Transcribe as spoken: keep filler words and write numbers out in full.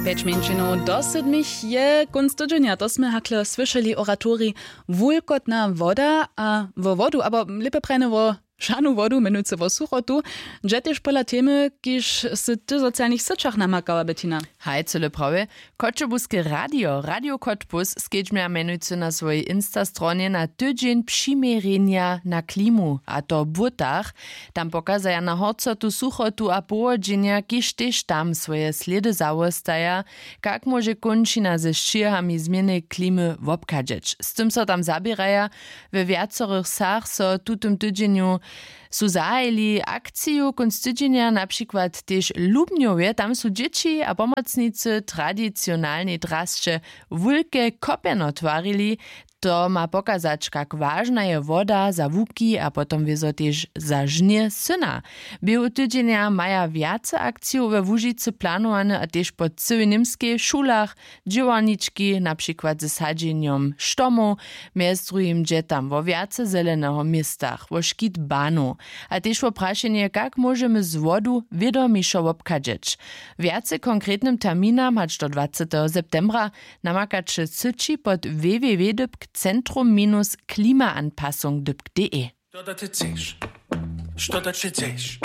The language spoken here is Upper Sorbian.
Pjeć mjeńšinow do sydmich je kónc tydźenja, to smy hakle słyšeli oratorij. Wulkotna woda a wo wodu abo lěpje prajne wo šanu wodu mjenujcy wo suchotu, dźe tež pola temy kiž sy ty w socialnych syćach namakała, Bettina. Haj, cyle prawje. Choćebuske radio radio choćebuz skedźbnja mjenujcy na swojej insta stronje na tydźeń přiměrjenja na klimu, a to w błótach. Tam pokazaja na horcotu suchotu a powodźenja kiž tež tam swoje slědy zawostaja, kak móže kónčina ze sćěhami změny klimy wobchadźeć. Z tym so tam zaběraja. We wjacorych wsach so w tutym tydźenju su zahajili akciju kónc tydźenja, na přikład tež w lubnjowje. Tam su dźěći a pomocnicy tradicionalnej drasće wulke kopjeno twarili. To ma pokazać, kak wažna je woda za łuki a potom wězo tež za žnje syna. Běhu tydźenja maja wjace akcijow we łužicy planowane a tež po cyłej němskej, w šulach, dźěłarnički, na přikład ze sadźenjom štomow. Mjez druhim dźe tam wo wjace zeleneho w městach, wo škit banow a tež wo prašenje, kak móžemy z wodu wědomišo wobchadźeć. Wjace w konkretnym terminam hač do dwaceteho septembra namakaće syći pod www dypk centrum minus klimaanpassung dypk de. Što da ty chceš? Što da ty chceš?